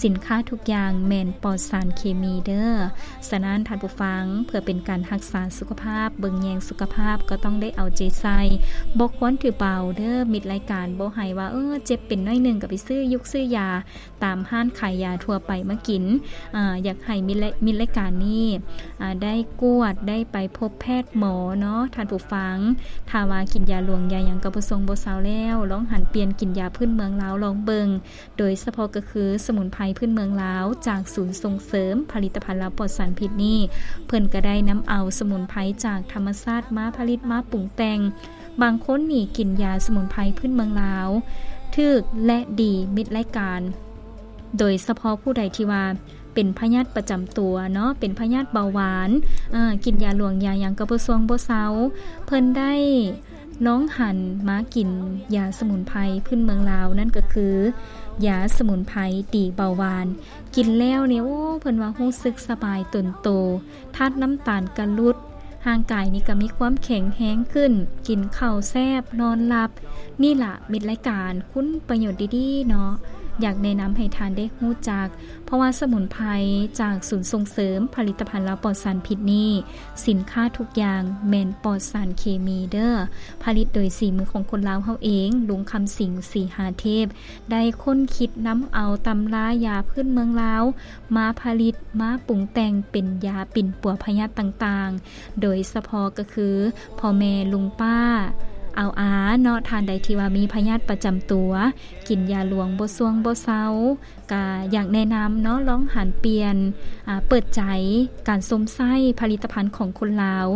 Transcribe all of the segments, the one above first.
ສິນຄ້າທຸກຢ່າງແມ່ນປອດສານເຄມີເດີ້. ສະນັ້ນທ່ານຜູ້ຟັງ, ເພື່ອເປັນການຮັກສາສຸຂະພາບ, ເບິ່ງແຍງສຸຂະພາບ ກໍຕ້ອງໄດ້ເອົາໃຈໃສ່, ບໍ່ຄວນຖືເບົາເດີ້. ມິດລາຍການບໍ່ໃຫ້ວ່າ, ເອີ, ເຈັບເປັນໜ້ອຍໜຶ່ງກໍໄປຊື້ຍຸກຊື້ຢາຕາມຮ້ານຂາຍຢາທົ່ວໄປມາກິນ. ອາ, ຢາກໃຫ້ມິດລາຍ, ມິດລາຍການນີ້, ອາ, ໄດ້ກວດ, ໄດ້ໄປພົບແພດໝໍເນາະທ່ານຜູ້ຟັງ. ຖ້າວ່າກິນຢາຫຼວງຢາຫຍັງກໍບໍ່ຊົງບໍ່ເຊົາແລ້ວ, ລອງຫັນປ່ຽນກິນຢາພື້ນເມືອງລາວລອງເບິ່ງ. ໂດຍສະເພາະກໍຄືສະໝຸນໄພພື້ນເມືອງລາວ ຈາກສູນສົ່ງເສີມຜະລິດຕະພັນລາວປອດສານພິດນີ້, ເພິ່ນກໍໄດ້ນຳເອົາສະໝຸນໄພຈາກທຳມະຊາດມາຜະລິດມາປຸງແຕ່ງ. ບາງຄົນນີ້ກິນຢາສະໝຸນໄພພື້ນເມືອງລາວຖືກ ແລະ ດີມິດລາຍການ, ໂດຍສະເພາະຜູ້ໃດທີ່ວ່າເປັນພະຍາດປະຈຳຕົວເນາະ, ເປັນພະຍາດເບົາຫວານ, ເອີ, ກິນຢາຫຼວງຢາຫຍັງກໍບໍ່ຊວງບໍ່ເຊົາ, ເພິ່ນໄດ້ ລອງຫັນມາກິນຢາສະໝຸນໄພພື້ນເມືອງລາວ, ນັ້ນກໍຄືຢາສະໝຸນໄພຕີເບົາຫວານ. ກິນແລ້ວນີ້, ໂອ້, ເພິ່ນວ່າຮູ້ສຶກສະບາຍຕົນໂຕ, ທາດນ້ຳຕານກະຫຼຸດ, ຮ່າງກາຍນີ້ກໍມີຄວາມແຂງແຮງຂຶ້ນ, ກິນເຂົ້າແຊບ, ນອນຫຼັບ. ນີ້ລະມິດລາຍການ, ຄຸນປະໂຫຍດດີໆເນາະ, ຢາກແນະນຳໃຫ້ທ່ານໄດ້ຮູ້ຈັກ. ເພາະວ່າສະໝຸນໄພຈາກສູນສົ່ງເສີມຜະລິດຕະພັນລາວປອດສານພິດນີ້ ສິນຄ້າທຸກຢ່າງແມ່ນປອດສານເຄມີເດີ້. ຜະລິດໂດຍສີມືຂອງຄົນລາວເຮົາເອງ, ລຸງຄຳສິງ ສີຫາເທບ ໄດ້ຄົ້ນຄິດນຳເອົາຕຳລາຢາພື້ນເມືອງລາວມາຜະລິດ, ມາປຸງແຕ່ງເປັນຢາປິ່ນປົວພະຍາດຕ່າງໆ, ໂດຍສະເພາະກໍຄືພໍ່ແມ່ລຸງປ້າອາວອາເນາະ, ທ່ານໃດທີ່ວ່າມີພະຍາດປະຈຳຕົວ, ກິນຢາຫຼວງບໍ່ຊວງບໍ່ເຊົາ, ກະຢາກແນະນຳເນາະ, ລອງຫັນປ່ຽນ, ອາ, ເປີດໃຈການຊົມໃຊ້ຜະລິດຕະພັນຂອງຄົນລາວ,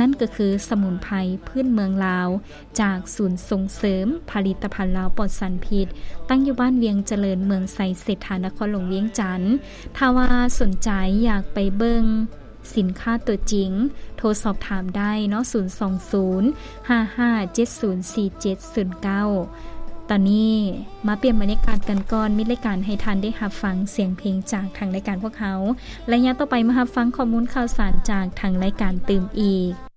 ນັ້ນກໍຄືສະໝຸນໄພພື້ນເມືອງລາວ ຈາກສູນສົ່ງເສີມຜະລິດຕະພັນລາວປອດສານພິດ, ຕັ້ງຢູ່ບ້ານວຽງຈະເລີນ, ເມືອງໄຊເສດຖາ, ນະຄອນຫຼວງວຽງຈັນ. ຖ້າວ່າສົນໃຈຢາກໄປເບິ່ງ ສິນຄ້າຕົວຈິງ, ໂທສອບຖາມໄດ້ເນາະ, ສູນສອງສູນ ຫ້າຫ້າເຈັດສູນສີ່ເຈັດສູນເກົ້າ. ຕອນນີ້ມາປ່ຽນບັນຍາກາດກັນກ່ອນ, ມີລາຍການໃຫ້ທ່ານໄດ້ຮັບຟັງສຽງເພງຈາກທາງລາຍການພວກເຮົາ. ໄລຍະຕໍ່ໄປມາຮັບຟັງຂໍ້ມູນຂ່າວສານຈາກທາງລາຍການຕື່ມອີກ.